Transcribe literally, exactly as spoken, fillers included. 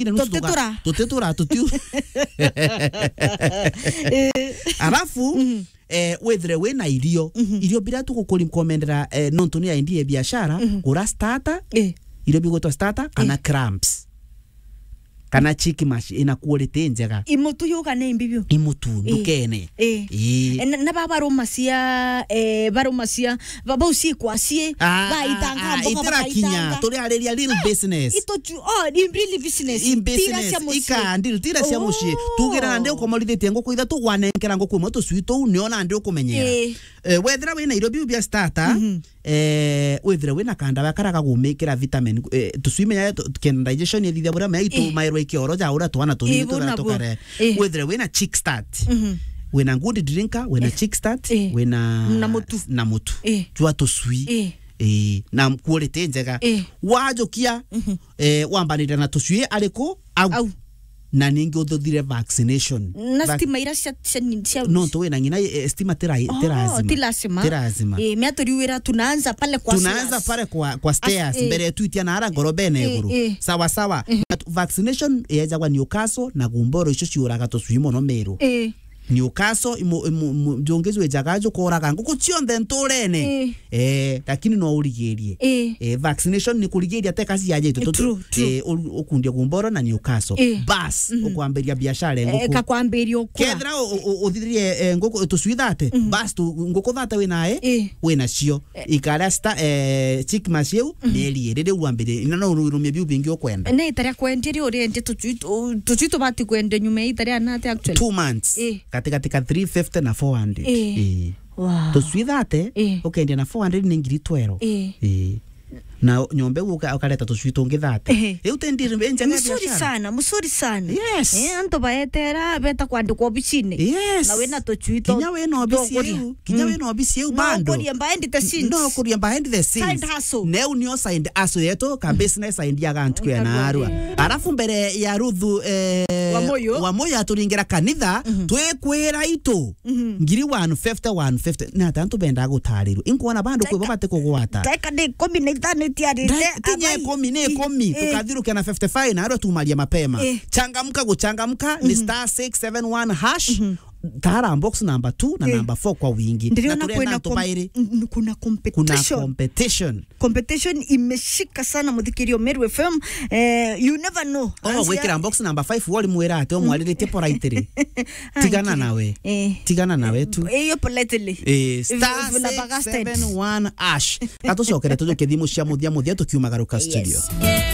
Ira nusu tuka-, tutitura. Tutitura, tutiu. Eh. Alafu, mhm, eh, withire wina irio. Mhm. Irio biria tugukurecommendera, eh, nontu ni idea ya biashara, mhm, gura starter, eh, irio bigwitwa starter, kana, eh, crumbs. Kana chick mash ina quality njega. Imutu yuga ni mbi biu. Imutu, eh, ndukene. Eh. Eh. Eh, na, na ba baruma cia, eh, baruma cia, ba-, bau cikwa cie, ah, baitanga ah, ah, mboga itirakinya, bakaitanga. Turiariria real business. Ito chu-, oh, in real business. In business, tira cia mucii. Ika deal, tira cia mucii. Oh. Tugira nandi ukomorithitie nguku ithatu, wanenkera nguku imwe tucui tuu, nio nandi ukumenyera. Eh. Eh, wethira wina irio biu bia starter, mhm, eh, withire wina kandawa karia gagumikira vitamin, eh, tucui menya tu-, kenda digestion ithithia buria mea itu, eh, mairwa ikioro ja uria twana tunini, eh, turia tukare. Eh. Withire wina chick start. Mhm. Wina good drinker, wina, eh, chick start, eh, wina na mutu. Na mutu. Eh. Jwa tucui. Eh. Eh, na quality njega. Eh. Wajukia, mhm, eh, wambanire na tucui ariku? Au. Au. Na ningi uthuthire vaccination. Na vac- stima ira cia, cia, cia nontu wina ng'ina, eh, stima ti ra-, ti, oh, lazima. Ti lazima. Ti lazima. Eh, mea turiuira tunaanza pale kwa stairs. Tunaanza pale kwa, kwa stairs, eh, mbere twitia na ara ngorobene, eh, iguru. Eh. Sawa, sawa. Eh. Na tu-, vaccination yejagwa Newcastle na Gumboro, icio ciuraga tucui mono Meru. Eh. Newcastle, imu-, imu-, imu-, njungi jwijaga jukoraga nguku cionthe nturene. Eh. Eh, lakini no urigirie. Eh. Eh, vaccination ni kurigiria te kasi yaje itu. True, true. Eh, u-, ukundia Gumboro na Newcastle. Eh. Bas, mhm, ukwambiria biashara ya, eh, nguku. Kakwambiria ukura. Kethira u-, u-, u-, uthithirie, eh, nguku, tucui thate, mhm, bas tu, nguku thate winae, eh, winacio. Eh. Ikaria sta-, eh, chick mash iu, mhm, mieri iri riu wambirie. Ina no urumie biu bingi ukwenda. Na ita ria kwendia ri uriendia tucui tu-, tucui tubati kwendia nyuma ya ita ria nate actually? Two months. Eh. Katikati ka three fifty na four hundred. Eh. Eh. Wow. Tucui thate, eh, ukendia na four hundred ni ngiri twelve. Eh. Eh. Na nyomba iu uka-, ukareta tucui tungi thate. Eh. Iu ti deal njega ya biashara. Mzuri sana, mzuri sana. Yes. Eh, antu baetera, beta kwandikwa obicine. Yes. Na wina tucui tu-, kinya wina obisi tukuria iu, kinya, mm, wina obisi iu bado. No ukurie behind the scenes. No ukurie behind the scenes. Side hustle. Neu nio side hustle yetu, ka, mm, business idea ga ntuku ya, mm, narua. Alafu mbere ya Ruthu, eh, Wamuyu. Wamuyu aturingira kanitha, mhm, twikwira itu. Mhm. Ngiri one fifty, one fifty. Na ata antu bendaga gutarirwa. Inkwona bandu kwi bo bati kugwata. Ndagika ni ikumi na ithano itiarite, ndagika kinya abai. Ikumi ni ikumi, eh, tukathirukia na fifty-five na arua tumaria mapema. Eh. Changamka guchangamka, ni, mhm, star six seven one hash. Mhm. Tara box number two na, eh, number four kwa wingi. Ndiriona na turienda kwina antu com-, bairi. N-, kuna competition. Kuna competition. Competition imeshika sana, muthikirio Meru F M. Eh, you never know. Oh, anzia gwikira box number five, wari mwira ati, mm, omwariritie politely. Ai, tigana kiri. Nawe. Eh. Tigana nawe tu. Eh, iyo politely. Eh, star six seven one hash. Katucokere tujuke thimu cia muthia muthia tukiumagaruka studio. Yes.